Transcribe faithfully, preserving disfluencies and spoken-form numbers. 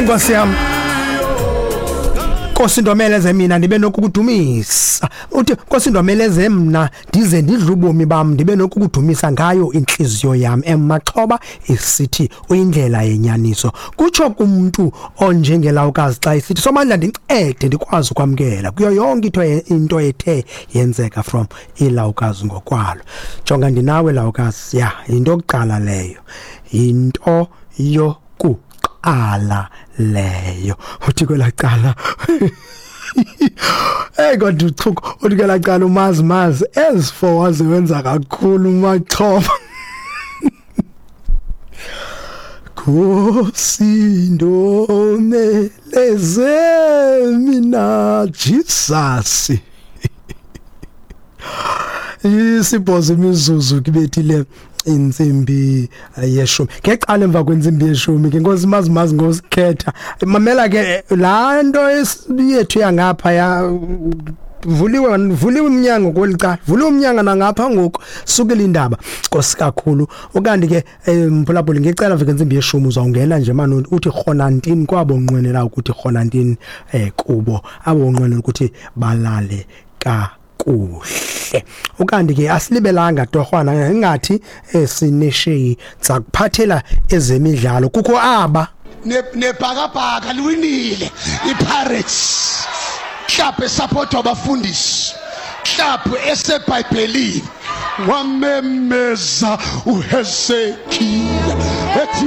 Nkosi yam, Nkosi ndomeleze mina ndibe nokukudumisa. Uthi Nkosi ndomeleze mna ndize ndidle ubomi bam ndibe nokukudumisa ngayo inhliziyo yam. Emaxhoba isithi uyindlela yenyaniso. Kutsho kumuntu onjengelawukazi xa isithi Somandla ndincede ndikwazi ukwamkela kuyo yonke into into ethe yenzeka from ilawukazi ngokwalo. Jonga ndinawe lawukazi, ya into yokuqala leyo, into yoku ala leyo. Uthi kwelacala hey kodwa uchuku uthi kwelacala umazi mazi as for waze wenza kakhulu maxhoba. Nkosi ndomeleze mina Jesus. Isibhozo imizuzu kibethile insimbi yeshumi. Ngecala emva kwentsimbi yeshumi ke Nkosi mazi mazi ngosikhetha. Mamela ke laa nto yethu yangapha ya vuliwe vuliwe umnyango kwelicala, vuliwe umnyango nangapha ngoku sukela indaba. Nkosi kakhulu. Ukanti ke mphulaphuli ngecala mva kwentsimbi yeshumi uzawungena nje manje uthi khonantini kwabo nqwenela ukuthi khonantini eh kubo abo nqwenela ukuthi balale ka kuhle. Ukanti ke asilibelanga torhwana ingathi esinesheyi zakuphathela ezemidlalo kukho aba nebhakabhaka liwinile iPirates club esupportwa abafundisi club eseBhayibhelini wamemeza uHezekiya ethi